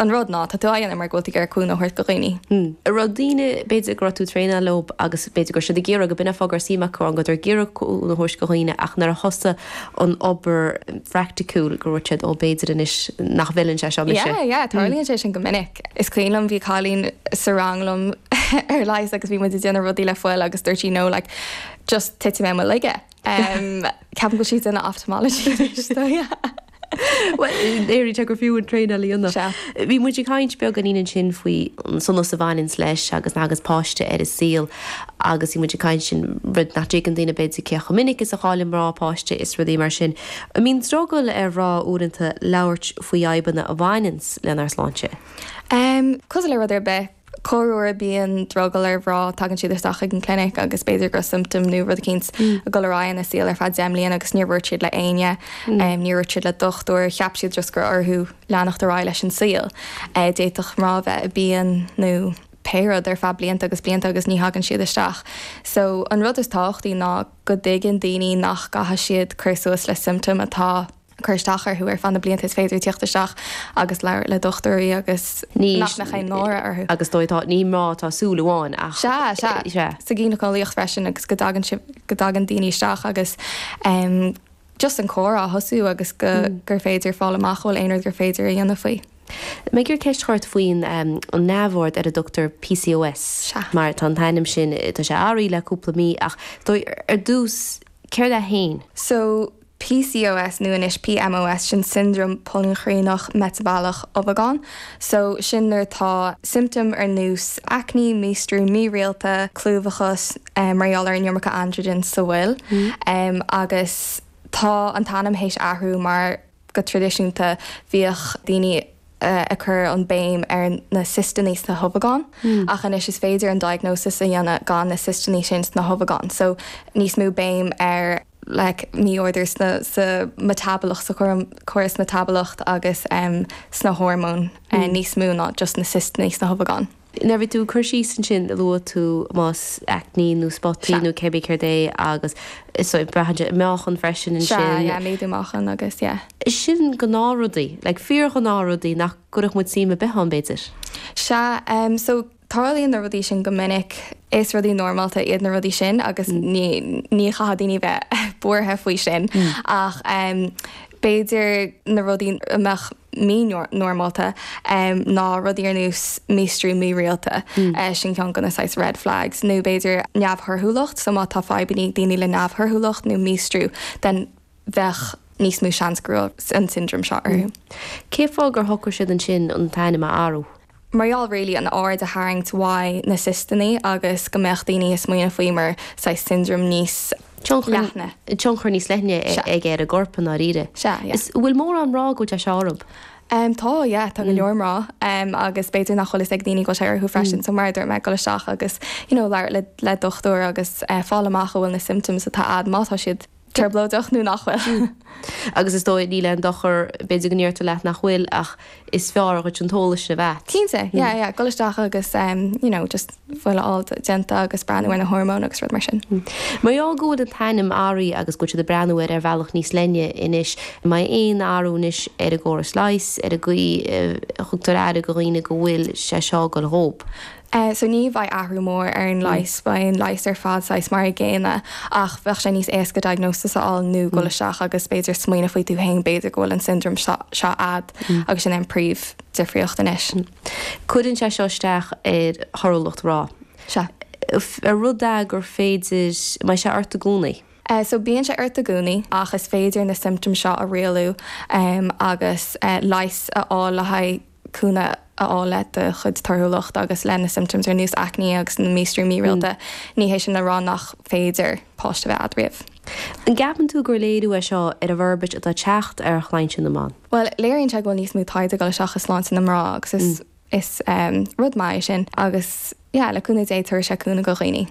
An rud ná, tá tú á dhéanamh mar go bhfuil tú ag iarraidh cúnamh a thabhairt do dhaoine. An raibh daoine, b'fhéidir go raibh tú ag traenáil leo agus b'fhéidir go raibh siad ag iarraidh, go b'in an fáth go raibh suim acu ann, go raibh ag iarraidh cúnamh a thabhairt do dhaoine ach nuair a thosaigh an obair phraiticiúil go raibh siad, ó b'fhéidir anois nach bhfeileann sé seo mise. Yeah, yeah, tarlaíonn sé sin go minic. Is cuimhin liom bhí cailín sa rang liom ar leigheas agus bhí muid ag déanamh rudaí le fuil agus dúirt sí no like just titfidh mé i mo laige. Ceapaim go bhfuil sí ag déanamh ophthalmology anois so yeah. Bhuel, léiríonn sé gur fiú an traenáil a dhéanamh. Sea. Bhí muid ag caint beagáinín ansin faoi an sonas a bhaineanns leis agus nuair a thagas páiste ar an saol agus bhí muid ag caint sin rud nach dtuigeann daoine b'fhéidir cé chomh minic is a chailleann mná páiste is rudaí mar sin. An mbíonn drogall ar mhná uaireanta labhairt faoi fhadhbanna a bhaineanns lenár sláinte? Cosúil le rud ar bith, Corruair bíonn drogall ar mhná, tagann siad isteach chuig an clinic agus b'fhéidir go raibh symptom nó rud eicínt ag dul ar aghaidh ina saol ar feadh 10 mbliana agus níor dhúirt siad le éinne, níor dhúirt siad le dochtúir, cheap siad just gur orthu leanacht ar aghaidh leis an saol. D'fhéadfadh mná a bheith i bpian nó pé rud ar feadh blianta agus blianta agus ní thagann siad isteach. So an rud is tábhachtaí ná go dtuigeann daoine nach gcaithfidh siad cur suas le symptom atá ag cur isteach orthu ar feadh na blianta is féidir tíocht isteach agus labhairt le dochtúirí agus nach mbeadh aon náire orthu. Agus dóigh atá, ní mná atá súil amháin ach. Sea, sea. Sea. Sa ghíneaceolaíocht freisin agus go dtagann sibh, go dtagann daoine isteach agus em just an comhrá a thosú agus go, gur féidir fáil amach an bhfuil aon rud gur féidir a dhéanamh faoi. Mé ag iarraidh ceist a chur ort faoin an neamhord ar a dtugtar PCOS. Sea. Mar tá an t-ainm sin, tá sé athraithe le cúpla mí ach dóigh, ar dtús, céard é féin? So, PCOS nó anois PMOS, sin siondróm poilinchríneach meitibileach ubhagán. So, sin nuair atá symptom ar nós aicní, míostrú mírialta, clúmhachas, mar gheall ar an iomarca androgen sa bhfuil. Agus tá an t-ainm théis athrú mar go traidisiúnta bhíodh daoine ag cur an béim ar na ciostannaí sna hubhagáin ach anois is féidir an diagnosis a dhéanamh gan na ciostannaí sin sna hubhagáin. So, níos mó béim ar. like mí-ordú sna sa mheitibileacht sa chóras meitibileacht agus sna hormóin níos mó ná just na ciostannaí sna hubhagáin. Nuair a bhí tú ag cur síos ansin luaigh tú más aicní nó spotaí nó cébí céard é agus so braitheann sé meáchan freisin ansin. Sea, yeah, méadú meáchan agus yeah. Sin gnáthrudaí, like fíorghnáthrudaí nach gcuirfeadh muid suim ar bith ann b'fhéidir. Sea, so Tarlaíonn na rudaí sin go minic. Is rudaí normálta iad na rudaí sin agus ní ní chaithfidh daoine bheith buartha faoi sin ach b'fhéidir na rudaí a mbeadh mí-normálta ná rudaí ar nós míostrú mírialta, sin ceann de na saghas red flags, nó b'fhéidir neamhthorthúlacht, so má tá fadhbanna ag daoine le neamhthorthúlacht nó míostrú then bheadh níos mó seans go raibh an siondróm seo orthu. Cén fáth gur shocraigh siad ansin an t-ainm a athrú? Mar gheall really an aird a tharraingt uaidh na ciostannaí agus go mbeadh daoine ag smaoineamh faoi mar saghas siondróm níos leithne. Tionchar níos leithne aige ar an gcorp i ndáiríre. Sea, yeah. Is bhfuil mórán mná go bhfuil sé seo orthu? Tá, yeah, tá go leor mná agus b'fhéidir nach bhfuil fhios ag daoine go bhfuil sé orthu freisin so mar a dúirt mé, dul isteach agus you know labhairt le le dochtúir agus fáil amach an bhfuil na symptoms atá a'd má tá siad trioblóideach nó nach bhfuil. Agus is dóigh, níl aon dochar, b'fhéidir go ndeirtear leat nach bhfuil, ach is fearr dhuit an t-eolas sin a bheith a't. Cinnte, yeah, yeah, dul isteach agus you know, just fuil a fháil déanta agus breathnú ar na hormóin agus rud mar sin. Mar gheall go bhfuil an t-ainm athraithe agus go bhfuil siad ag breathnú air ar bhealach níos leithne anois, an mbeidh aon athrú anois ar an gcóras leighis, ar an gcaoi a thugtar aire do dhaoine go bhfuil sé seo ag dul dhób? So ní bheidh athrú mór ar an leigheas, beidh an leigheas ar fad saghas mar a gcéanna ach bheadh sé níos éasca diagnosis a fháil nó dul isteach agus b'fhéidir smaoineamh faoi tú féin, b'fhéidir go bhfuil an syndrome seo a'd agus sin é an príomh difríocht anois. Cuireann sé seo isteach ar thorthúlacht mná. Sea. Ar rud é gur féidir, an mbeidh sé ort i gcónaí? So bíonn sé ort i gcónaí ach is féidir na symptoms seo a rialú agus leigheas a fháil le haghaidh cúnamh a fháil le do chuid torthúlacht agus le na symptoms ar nós aicní agus na míostrú mírialta, ní hé sin le rá nach féidir páiste a bheith a'd riamh. An gceapann tú gur léiriú é seo ar an bhforbairt atá ag teacht ar shláinte na mban? Bhuel, léiríonn sé go bhfuil níos mó taighde ag dul isteach i sláinte na mná agus is is rud maith é sin agus yeah, le cúnamh Dé tabharfaidh sé cúnamh do dhaoine.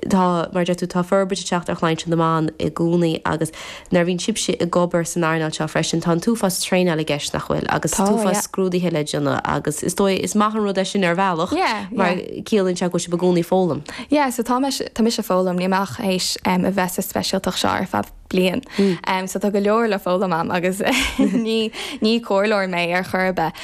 Tá, mar a deir tú, tá forbairt ag teacht ar shláinte na mban i gcónaí agus nuair a bhíonn sibhse ag obair san earnáil seo freisin, tá an t-uafás traenáil i gceist, nach bhfuil? Agus Tá, t-uafás yeah. scrúduithe le déanamh agus is dóigh, is maith an rud é sin ar bhealach Yeah, mar yeah. ciallaíonn sé go bhfuil sibh i gcónaí ag foghlaim. Yeah, so tá mise, tá mise ag foghlaim, níl mé ach théis a bheith sa speisialtacht seo ar feadh bliain. So tá go leor le foghlaim a'm agus ní, ní comhairleoir mé ar chor ar bith.